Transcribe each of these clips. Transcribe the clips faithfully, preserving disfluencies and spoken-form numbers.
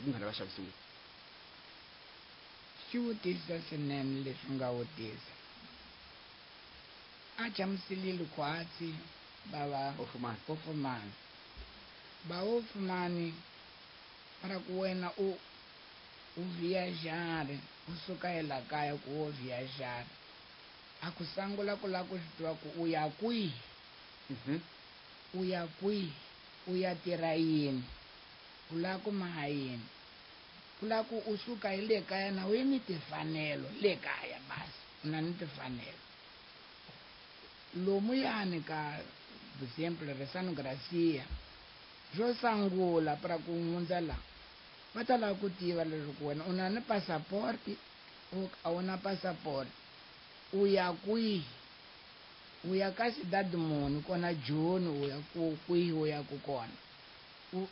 Ku nghana va xavisiwile. Xivutiso swinene leswi nga vutisa a chamuselile khwatsi bava Ofumani. Ofumani ba ofumani para ku wena u u viajar u suka ela kaya ku wo viajar a ku sangula ku lava ku swi tiva ku u ya kwihi. Mhm. U ya kwihi, u ya tirha yini, u lava ku maha yini, ku lava ku u suka hi le kaya na u yi ni timfanelo le kaya basi u na ni timfanelo lomuyani ka exemple Resano Gracia xo sangula para ku hundza la va ta lava ku tiva leswaku wena u na ni passaporti u a wu na passaporti, u ya kwihi, u ya ka cidade muni kona Joni, u ya ku kwihi u ya ku kona u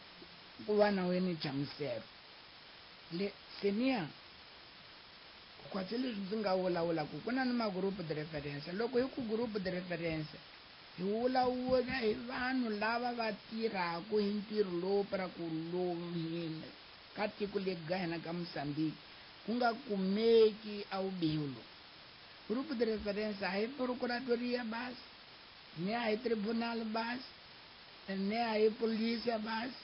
ku va na wena nhlamuselo le senior khwatsi leswi ndzi nga vulavulaka ku na ni ma-groupe de référence. Loko hi ku groupe de référence hi vulavula hi vanhu lava va tirhaka hi ntirho lowu para ku lomu hina ka tiko leri ka hina ka Mozambique ku nga kumeki a vubihi lowu. Groupe de référence a hi procuradoria basi, ni a hi tribunal basi, ni a hi polícia basi,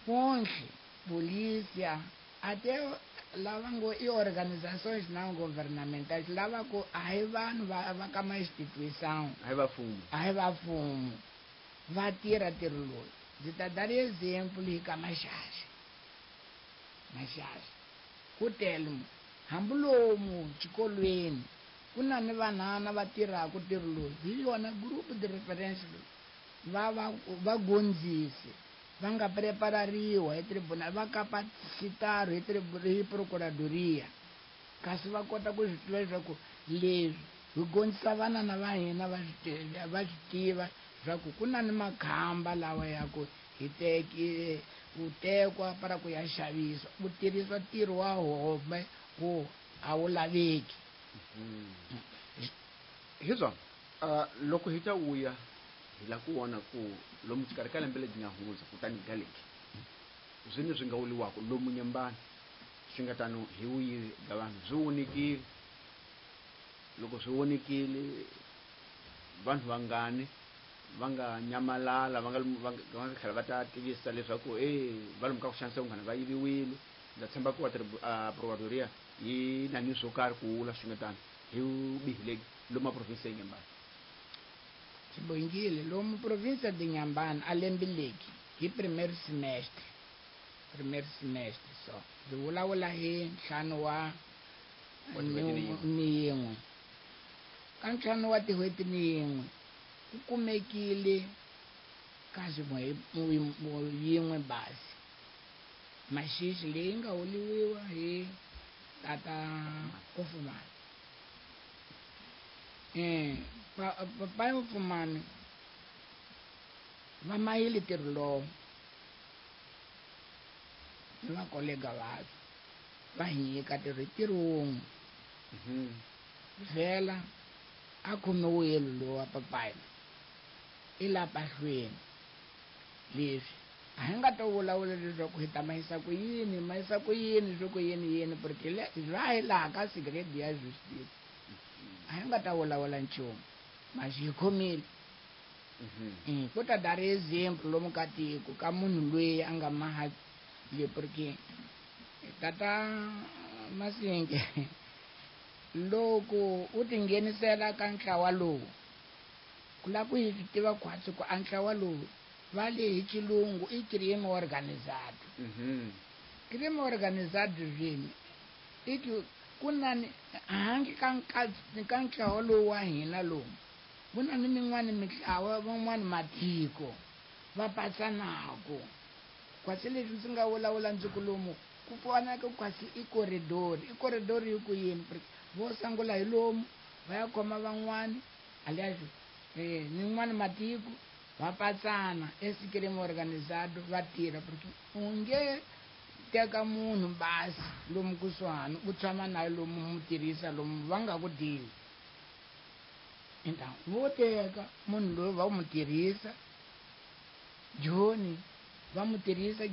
konhle polícia até lava ngo i organizações não governamentais lava ku a hi vanhu va va ka ma instituição A hi va mfumo. A hi va mfumo va tirha ntirho lowu. Ndzi ta dar exemplo hi ka Maxaxa. Maxaxa ku tele mo hambi lomu xikolweni ku na ni vanhana va tirhaka ntirho lowu hi yona groupe de référence lowu va va va gondzise va nga preparariwa hi tribunal va capacitaro hi hi procuradoria kasi va kota ku swi tiva leswaku leswi hi gondzisa vanana va hina va swi va swi tiva leswaku ku na ni makhamba lawa ya ku hi teki ku tekwa para ku ya xavisa ku tirhisa ntirho wa home ku a wu laveki. Hi swona uh, loko hi ta vuya hi la ku vona ku lomu xikarhi ka lembe lebyi nga hundza kutani ga leki zwine swi nga vuliwaka lomu Nyembani swi nga tano hi vuyivi bya vanhu byi vonikile. Loko swi vonikile vanhu vangani va nga nyamalala va nga va nga tlhela va ta tivisa leswaku e va lomu ka ku xanisa vanghana va yiviwile. Ndza tshemba ku va procuradoria yi na ni swo karhi ku vula swi nga tano hi vubihi lebyi lomu province ya Nyembani. Sibongile, lomu província de Inhambane a lembe leki hi primeiro semestre primeiro semestre so ndzi vulavula hi ntlhanu wa Wa tin'hweti ni yin'we. Ni yin'we ka ntlhanu wa tin'hweti ni yin'we ku kumekile kasi yin'we basi maxixi leyi nga huliwiwa hi tata Ofumani. Eh papai Ofumani va mayile ntirho lowu ni vakolega va va hi nyika ntirho hi ntirho wun'we vhela a khomiwile lowa papai i la pahlweni leswi a hi nga ta vulavula leswaku hi ta mahisa ku yini mahisa ku yini swo ku yini yini porque le va hi laha ka segredo ya justice a hi nga ta vulavula nchumu maxi hi khomile. Mm, ku ta dar exemplo lomu ka tiko ka munhu loyi a nga maha le porque tata Masinge loko u tinghenisela ka ntlawa lowu ku lava ku hi swi tiva khwatsi ku a ntlawa lowu va le hi xilungu i crime organizado. Crime organizado zwini i ku ku na ni handle ka ka ntlawa lowu wa hina lowu ku na ni min'wani mitlawa van'wani matiko va patsanaka kwasi leswi ndzi nga vulavula ndzi ku lomu ku fanaka kwasi i corridor i corridor yi ku yini vo sungula hi lomu va ya khoma van'wani alias eh nin'wani matiko va patsana esi crime organizado va tirha porque u nge teka munhu basi lomu kusuhani u tshama naye lomu mu tirhisa lomu va nga ku deli. Então vo teka munhu loyi va mu tirhisa Joni va mu tirhisa